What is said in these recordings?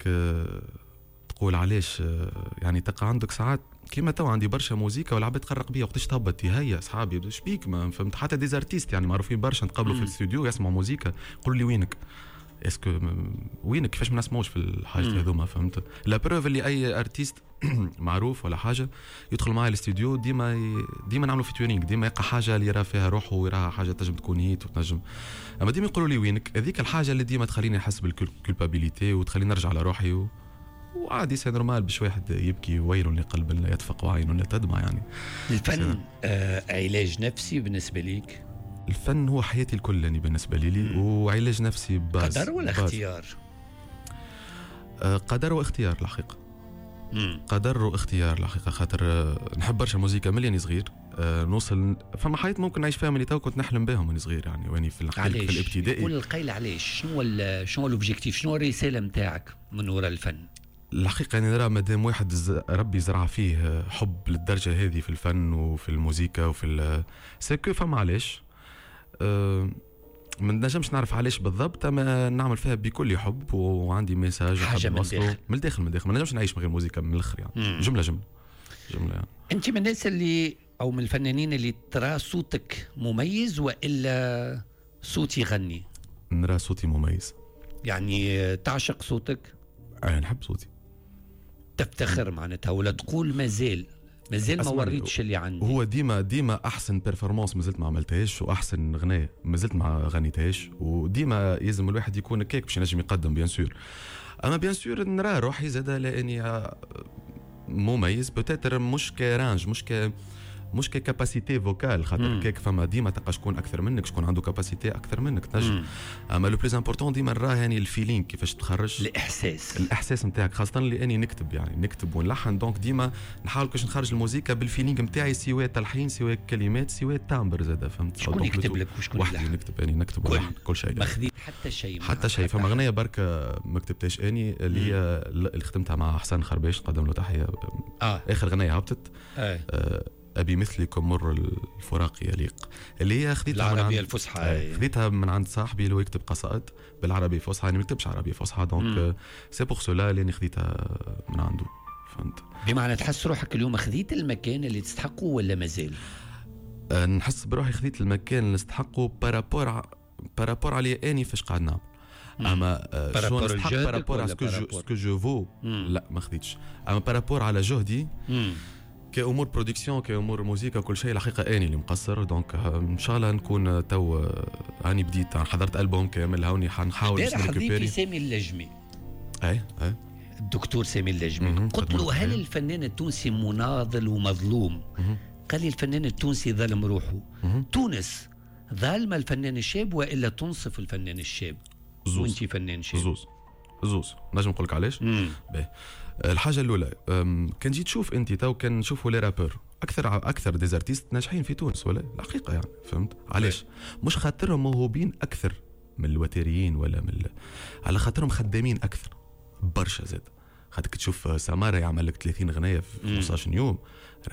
انك تقول علاش، يعني تلقى عندك ساعات كيما تو عندي برشا موزيكا والعباد تقرق بيا وقتاش تهبط، هيا اصحابي شبيك ما فهمت، حتى des artistes يعني معروفين برشا نتقابلوا في الاستوديو يسمعوا موزيكا يقولوا لي وينك، est-ce que وينك، كيفاش ما نسمعوش في الحاجات هذوما، فهمت؟ la preuve اللي اي artiste معروف ولا حاجة يدخل معي الاستوديو ديما نعملوا featuring، ديما يلقى حاجة اللي يرى فيها روحه ويراها حاجة تنجم تكون hit وتنجم، اما ديما يقولوا لي وينك. هذيك الحاجة اللي ديما تخليني نحس بال culpabilité وتخليني نرجع على روحي وعادي c'est normal باش واحد يبكي، ويل لقلب لا يدفق وعين لا تدمع يعني. الفن علاج نفسي بالنسبة ليك؟ الفن هو حياتي الكل يعني بالنسبة لي، وعلاج نفسي باز. قدر ولا اختيار؟ قدر واختيار الحقيقه. قدر واختيار الحقيقه، خاطر نحب برشا موزيكا ملي صغير، نوصل فما حاجات ممكن نعيش فيها من تو كنت نحلم بهم وانا صغير يعني، واني في الابتدائي. قول القيل علاش، شنو l'objectif، شنو الرسالة نتاعك من وراء الفن؟ الحقيقة يعني نرى مادام واحد ربي زرع فيه حب للدرجة هذه في الفن وفي الموزيكا وفي c'est que فما علاش. ما نجمش نعرف علاش بالضبط، اما نعمل فيها بكل حب وعندي message. حاجة من الداخل. من الداخل، من الداخل، ما نجمش نعيش من غير موزيكا من الاخر يعني. جملة جملة جملة يعني. انت من الناس اللي او من الفنانين اللي ترى صوتك مميز والا صوت يغني؟ نرى صوتي مميز. يعني تعشق صوتك؟ انا نحب صوتي. تفتخر معناتها ولا تقول مازال ما وريتش اللي عندي؟ هو ديما احسن performance مازلت ما عملتهاش، واحسن غنايه مازلت ما غنيتهاش، وديما يلزم الواحد يكون كيك باش ينجم يقدم bien sûr. اما bien sûr نرى روحي زاد لاني مميز peut-être مش ك range، مش ك capacité vocale، خاطر كيك فما ديما تلقى شكون اكثر منك، شكون عنده capacité اكثر منك تنجم، اما le plus important ديما نراه يعني ال feeling كيفاش تخرج الاحساس. الاحساس نتاعك، خاصة لاني نكتب يعني نكتب ونلحن، donc ديما نحاول كيفاش نخرج الموزيكا بال feeling نتاعي، سواء تلحين سواء كلمات سواء timbre زاد، فهمت؟ شكون يكتب لك وشكون يلحن؟ نكتب يعني نكتب ونلحن كل شيء. ما خذيت حتى شيء؟ حتى شيء. فما غنية بركة ما كتبتهاش اني، اللي هي اللي خدمتها مع حسن خرباش، نقدم له تحيه. اخر غنية هبطت ابي مثلكم مر الفراق يليق، اللي هي خذيتها العربية الفصحى. خذيتها من عند صاحبي اللي هو يكتب قصائد بالعربية الفصحى، انا ما نكتبش عربية فصحى، donc c'est pour cela اللي خذيتها من عنده، فهمت؟ بمعنى تحس روحك اليوم خذيت المكان اللي تستحقه ولا مازال؟ نحس بروحي خذيت المكان اللي نستحقه par rapport علي اني فاش قاعد نعمل، اما شو نستحق par rapport à ce que je vaux لا ما خذيتش، اما par rapport على جهدي كامور production كامور موزيكا كل شيء الحقيقة اني اللي مقصر، donc ان شاء الله نكون تو هاني بديت حضرت البوم كامل، هوني حنحاول باش ن récupérer. سامي اللجمي. اي. الدكتور سامي اللجمي، قلت له هل الفنان التونسي مناضل ومظلوم؟ قال لي الفنان التونسي ظلم روحه. تونس ظالمه الفنان الشاب والا تنصف الفنان الشاب؟ زوز. وانت فنان شاب. زوز زوز. نجم نقول لك علاش. باهي، الحاجة الاولى كان جيت تشوف انت تو كان نشوفوا les rappeurs اكثر des artistes ناجحين في تونس ولا الحقيقة يعني، فهمت علاش؟ مش خاطرهم موهوبين اكثر من الوتريين ولا من على خاطرهم خدامين اكثر برشا زاد، خاطر تشوف سمارة يعمل لك 30 غنايه في 15 يوم،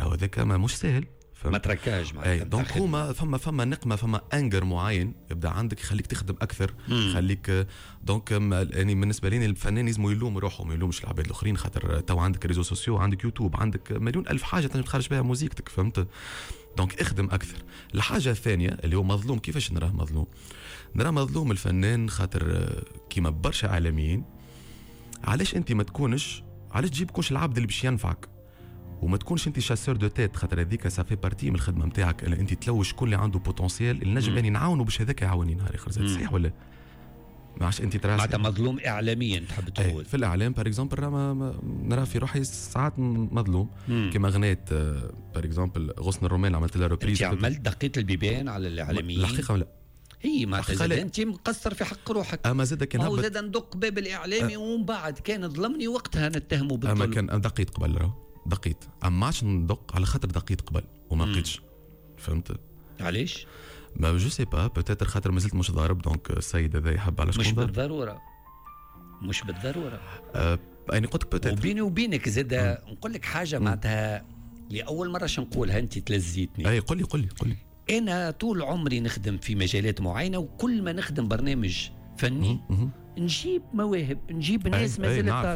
راهو هذاك ما مش سهل. ما تركاش. معناتها donc هما فما نقمه، فما anger معين يبدا عندك يخليك تخدم اكثر، يخليك donc يعني بالنسبة لي الفنان لازم يلوم روحه ما يلومش العباد الاخرين، خاطر تو عندك réseaux sociaux، عندك يوتيوب، عندك مليون الف حاجة تنجم تخرج بها موزيكتك، فهمت؟ donc اخدم اكثر. الحاجة الثانية اللي هو مظلوم، كيفاش نراه مظلوم؟ نراه مظلوم الفنان خاطر كيما برشا اعلاميين، علاش انت ما تكونش، علاش تجيب كونش العبد اللي باش ينفعك وما تكونش انت chasseur de têtes، خاطر هذيك ça fait partie من الخدمة نتاعك، انت تلوج شكون اللي عنده potentiel اللي نجم اني نعاونه باش هذاك يعاوني نهار اخر، صحيح ولا ما عادش انت ترى؟ معناتها مظلوم اعلاميا تحب تقول؟ في الاعلام par exemple نرى في روحي ساعات مظلوم، كما غنيت par exemple غصن الرومان عملت لها reprise. انت عملت دقيت البيبان على الاعلاميين؟ الحقيقة لا. هي معناتها انت مقصر في حق روحك. اما زاد كان هو زاد ندق باب الاعلامي ومن بعد كان ظلمني وقتها نتهمه بالظلم. اما كان دقيت قبل، راهو دقيت، اما عادش ندق على خاطر دقيت قبل وما لقيتش، فهمت؟ علاش؟ ما je sais pas، peut-être خاطر مازلت مش ضارب، donc السيد هذا يحب على شكون. مش بالضرورة، مش بالضرورة. يعني قلت لك peut-être. وبيني وبينك زاد نقول لك حاجة معناتها لاول مرة شنقولها نقولها انت تلزيتني. اي قل لي قل لي قل لي. انا طول عمري نخدم في مجالات معينة، وكل ما نخدم برنامج فني نجيب مواهب، نجيب ناس مازالت.